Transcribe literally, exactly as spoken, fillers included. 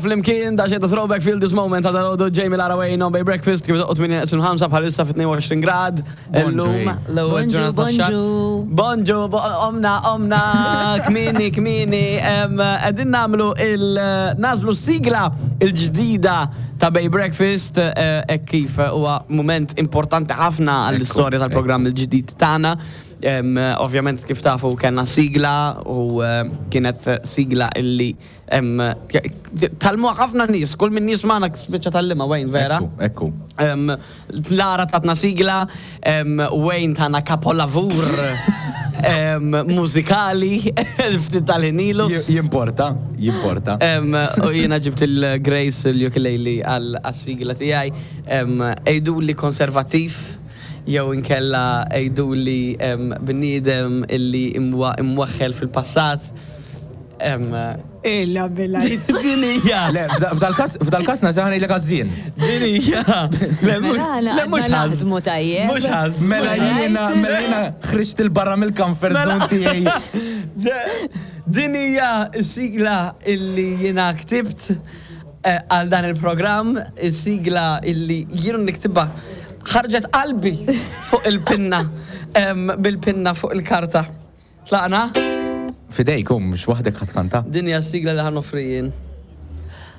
Flimkien, da xedda throwback Feel This Moment ta' dal Jamie Lara Wayne on Bay Breakfast, kif doqqot minn ħamsa bħalissa fit tnejn u għoxrin grad. Illum l-ewwel Bonġu, ġurnata tax-xahar. Bonġu. Bonġu, bo- omna, omna, kmini, kmini. Qegħdin nagħmlu il-nagħżlu sigla il-ġdida ta' Bay Breakfast, eh, e kif huwa moment importanti ħafna għall-istorja tal-programm il-ġdid tagħna. Em, Ovvjament, kif tafu, kellna sigla u eh, kienet sigla illi em, tgħallmu ħafna nies, kull min nies magħna spiċċa tgħallimha, Wayne, vera? Ekku, ekku. Um, Lara tatna sigla, um, Wayne tana kapolavur um, mużikali ftit tal-ħin ilu. Jimporta, jimporta. Um, u jiena ġibt il-Grace l-ukulele għal-sigla tiegħi. Um, Għidu li konservativ, jew inkella għidu li um, bniedem illi imwa- imwaħħel fil-passat. Um, Illa billa. Din hija. Le, f'dal-kas, f'dal-kas nazaħni l għazzin. Din hija. Le, mhux- Mela, le, mhux għadna ħaż. naħdmu tajjeb. Mhux ħaż. Mela mhux ħaż. jiena, mela jiena ħriġt il-barra mill-comfort Mela. zone tiegħi. Din hija s-sigla illi jiena ktibt eh, għal dan il-programm, is-sigla illi jienu niktibha ħarġet qalbi fuq il-pinna, em, bil-pinna fuq il-karta. Tlaqna? Fidejk, um, mhux waħdek ħa tkanta. Din hija s-sigla li ħa noffri jien.